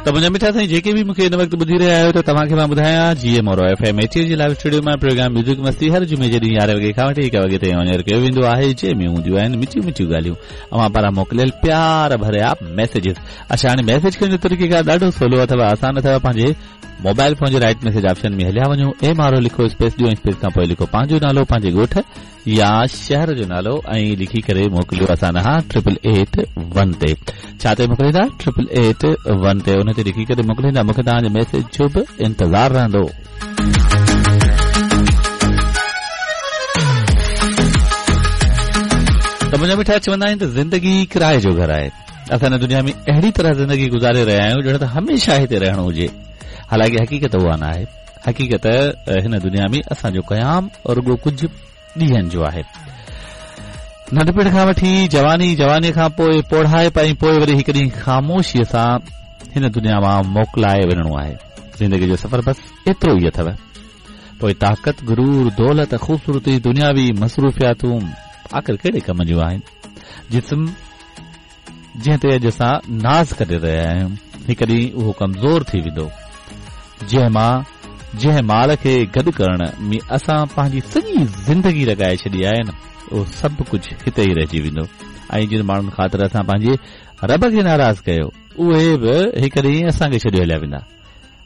ته منهنجا مٺا سائين جيڪي به مونکي هن وقت ٻڌي رهيا آهيو ته توهان کي مان ٻڌايان جي M R O F M 88 جي لائيو اسٽوڊيو مان پروگرام ميوزڪ مستي هر جمعي جي ڏينهن 11 وڳي کان وٺي 1 وڳي تائين آن ايئر ڪيو ويندو آهي جنهن ۾ هونديون آهن مٺيون مٺيون ڳالهيون اوهان پاران موڪليل پيار ڀريا ميسيجز اڇا هاڻي ميسيج ڪرڻ جو طريقيڪار ڏاڍو سولو اٿو آسان اٿو پنهنجي موبائل فون جي رائيٽ ميسيج آپشن ۾ هليا وڃو ايم آر او لکو اسپيس ڏيو ۽ اسپيس کان پوء لکو پنهنجو نالو پنهنجي ڳوٺ يا شهر جو نالو ۽ لکي ڪري موڪليو اسان ڏانهن ٽرپل ايٽ ون تي ڇا تي موڪليندا ٽرپل ايٽ ون تي ان تي لکي ڪري موڪليندا مونکي توهان جي ميسيج جو به انتظار رهندو. ته منهنجا مٺا چوندا آهن ته زندگي ڪرائي جو گهر آهي اسان هن دنيا ۾ اهڙي طرح زندگي گذاري رهيا آهيون ڄڻ ته هميشه هتي رهڻو هجي حالانڪه حقيقت اها نه آهي حقيقت هن دنيا ۾ اسان جو قيام رڳو ڪجهه ڏينهن جو آهي. ننڍپڻ کان وٺي جواني، جوانيء کان پوء پوڙهائپ ۽ پوء وري هڪ ڏينهن خاموشيء سان هن دنيا مان موڪلائي وڃڻو آهي. زندگيء جو سفر بس ايترو ئي اٿو. پوء طاقت، غرور، دولت، خوبصورتي، دنياوي مصروفياتون آخر ڪهڙي ڪم جون آهن؟ جسم جنهن تي اڄ اسان ناز ڪري رهيا آهيون، هڪ ڏينهن اهو ڪمزور ٿي ويندو. جنهن مان جنهن مال کي گڏ ڪرڻ ۾ اسان پنهنجي سڄي زندگي لڳائي ڇڏي آهي نه، اهو سڀ ڪجهه هتي ئي رهجي ويندو ۽ جن ماڻهن خاطر اسان پنهنجي رب کي ناراض ڪيو، اهي به هڪ ڏينهن اسان کي ڇڏي هليا ويندا.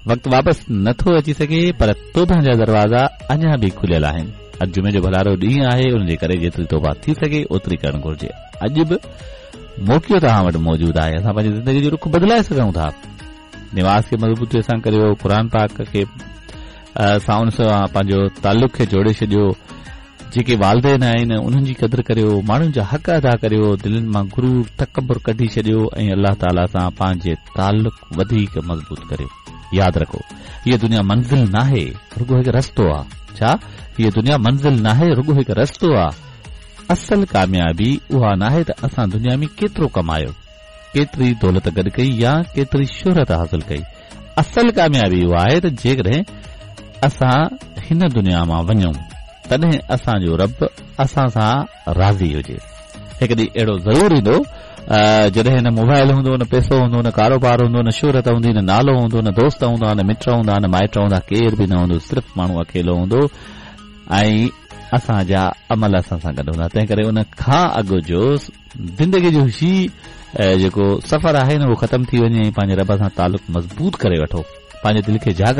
وقت واپس نه ٿو اچي سگهي پر توبه جا دروازا اڃا به کليل آهن. اڄ جمعي جو ڀلارو ڏينهن آهي ان جي ڪري جيتري توبه ٿي سگهي اوتري ڪرڻ گهرجي. اڄ به موقعو توهان وٽ موجود آهي اسان پنهنجي زندگي جو رخ بدلائي سگهون ٿا. نماز کي مضبوطي سان ڪريو، قرآن پاڪ کي سان ان سان پنهنجو تعلق کي جوڙي ڇڏيو. جيڪي والدين آهن انهن جي قدر ڪريو، ماڻهن جا حق ادا ڪريو، دلين مان غرور، تڪبر ڪڍي ڇڏيو ۽ الله تعالي سان پنهنجي تعلق وڌيڪ مضبوط ڪريو. ياد رکو، هيء دنيا منزل ناهي، رڳو هڪ رستو آ. ڇا؟ هيء دنيا منزل ناهي، رڳو هڪ رستو آ. اصل ڪاميابي اها ناهي ته اسان دنيا ۾ ڪيترو ڪمايو، ڪيتري دولت گڏ ڪئي يا ڪيتري شهرت حاصل ڪئي. اصل ڪاميابي اها آهي ته جيڪڏهن اسان هن دنيا مان وڃون تڏهن اسان جو رب اسان سان راضي هجي. هڪ ڏينهن اهڙو ضرور ايندو جڏهن نه موبائل هوندو، نه پئسو هوندو، نه ڪاروبار هوندو، نه شهرت هوندي، نه نالو هوندو، نه دوست هوندا، نه مٽ هوندا، نه مائٽ هوندا، ڪير به نه هوندو، صرف ماڻهو اڪيلو هوندو ۽ اسان جا عمل اسان سان گڏ هوندا. تنهن ڪري ان کان اڳ جو زندگي جو هي جيڪو سفر آهي نه اهو ختم ٿي وڃي ۽ پنهنجي رب سان تعلق مضبوط ڪري وٺو، پنهنجي دل کي جاڳايو.